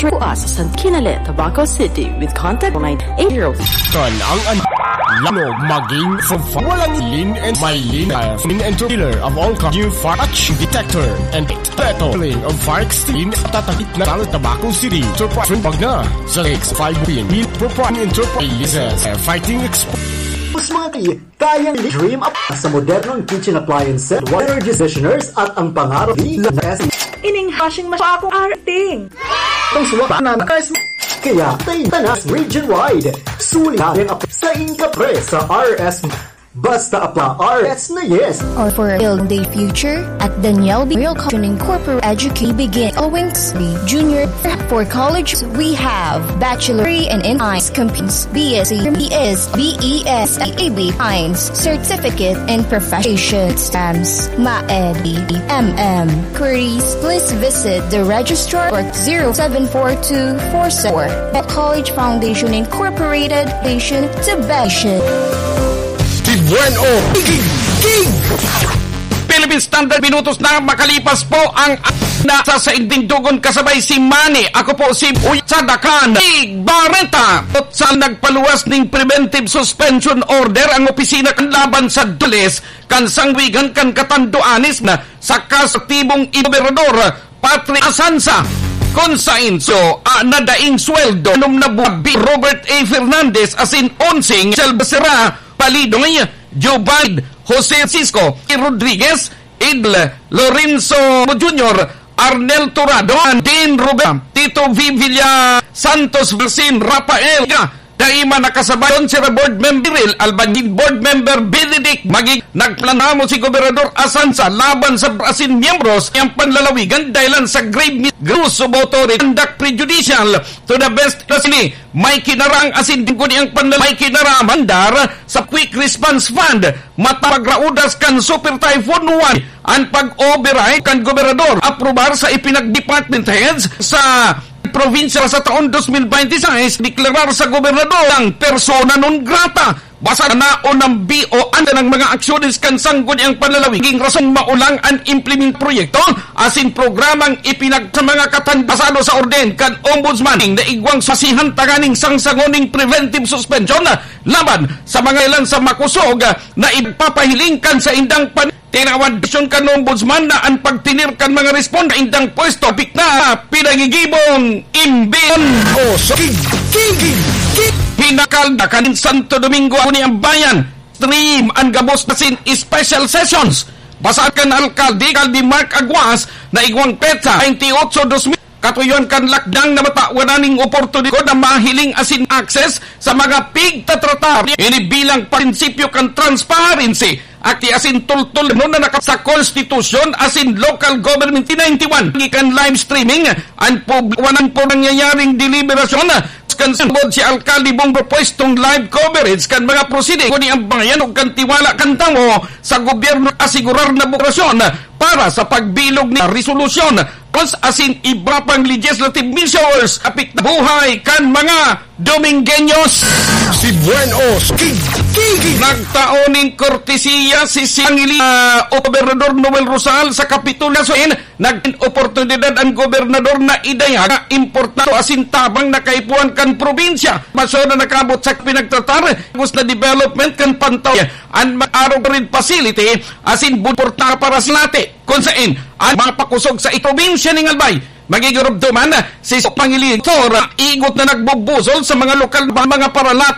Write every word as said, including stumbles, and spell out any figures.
Kuas sa San Kinale, Tabaco City with contact nine eight zero. Kan ang an-, lano maging for fa-, walang lin and may lin, uh, lin and two-wheeler of all kinds, new fire action detector and petrol of fire extinguisher, tatakit na sa Tabaco City. Enterprise, wag na sa six five pin. Propane Enterprise, uh, fighting expo. Mas mga kay-, kayang dream up sa modernong kitchen appliances, water conditioners at ang pangarap ni S. Ining hashing mas akong arting. Ang suwa na nakas-, kaya tayo na region wide. Suli na ang ap-, sa Inka Pre sa R S. Basta apla R S na yes. Or for a healthy future, at Daniel B. Real Caution Incorporated Educate Begin Owing to Be Junior. For college, we have Bachelor in Science, Companies, B S C, B S, B E S, A B Science, Certificate in Professional Exams, MAED, M M. Queries, please visit the registrar or zero seven four two four seven. The College Foundation Incorporated, Foundation to Passion. Tibuan o King! King! Philippine Standard, minutos na makalipas po ang na sa sainding dugon kasabay si Manny. Ako po si Uy Sadakan. Igbarenta. Sa nagpaluwas ning preventive suspension order ang opisina kan laban sa Dulis kan sangwigan kan Catanduanes na sa kaso tibong gobernador Patri Asansa, kun sain so, ah, nadaing sweldo, anom na buwan, Robert A. Fernandez, asin onseng, Michelle Becerra, Palidoy, Joe Biden, Jose Francisco, Rodriguez, Idol, Lorenzo Junior, Arnel Turado, Dean Rubén, Tito V. Villa Santos, Marcin Rafael, Dai man nakasabay, Consular Board Member Cyril Albanjin, Board Member Benedict Magig, nagplano si Gobernador Asansa laban sa asin miyembros niyang panlalawigan dahilan sa grave misuse of authority, conduct prejudicial to the best interest ni may kinarang asin tingkod niyang panlalawigan may kinarang mandar sa Quick Response Fund matapag raudas kan Super Typhoon Uwan an pag-override kan gobernador aprobar sa ipinag-department heads sa probinsya sa taon dos mil bente y seis, deklarar sa gobernador ang persona non grata. Basta na o nambi o anda ng mga aksyones kan sangguniang panlalawigan, rason maulang an implement proyekto asin programang ipinag sa mga katan basado sa orden kan Ombudsman na igwang sasihan tanganing sangsangon ning preventive suspension laban sa mga ilan sa makosog na ipagpapahiling kan saindang pan- Tinawan desisyon kan Ombudsman na an pagtener kan mga responde sa indang pwesto, apik na pinagigibong imbis o sa King, King, King, King. Hinakalda kan Santo Domingo, Sangguniang Bayan, stream an gabos na sin special sessions. Basa kan alkalde, Alcalde Mark Aguas, na igwang petsa, twenty-eight, dos mil. Katuyoan kan lakdang na matawan ning oportunidad na mahiling asin access sa mga pigtatratar ini bilang prinsipyo kan transparency, akti asin tultol na naka sa konstitusyon asin local government ninety-one. Gikan live streaming an pub-, wanan po nangyayaring deliberasyon kan sambod si Alkalde Bong propwestong live coverage kan mga proceeding ni ang bayan ug kan tiwala kan tawo sa gobyerno asigurar na bukrasyon para sa pagbilog ni resolusyon, laws asin iba pang legislative measures apik na buhay kan mga Domingueños. Si Buenos, King, King, King. Nagtao ning kortesiya si Sangili, ah, o Gobernador Noel Rosal sa Kapitolyo. So, in, nagin oportunidad ang gobernador na idayag na importante asin tabang na kaipuhan kan probinsya. Masyon na nakabot sa pinagtratar, gusto na development kan pantaw, an mag-arog rin facility, asin buporta para sa lati. Kun sain, an mga pakusog sa probinsya ning Albay, magigurubduman si Pangilitor, igot na nagbubusol sa mga lokal ba mga paralat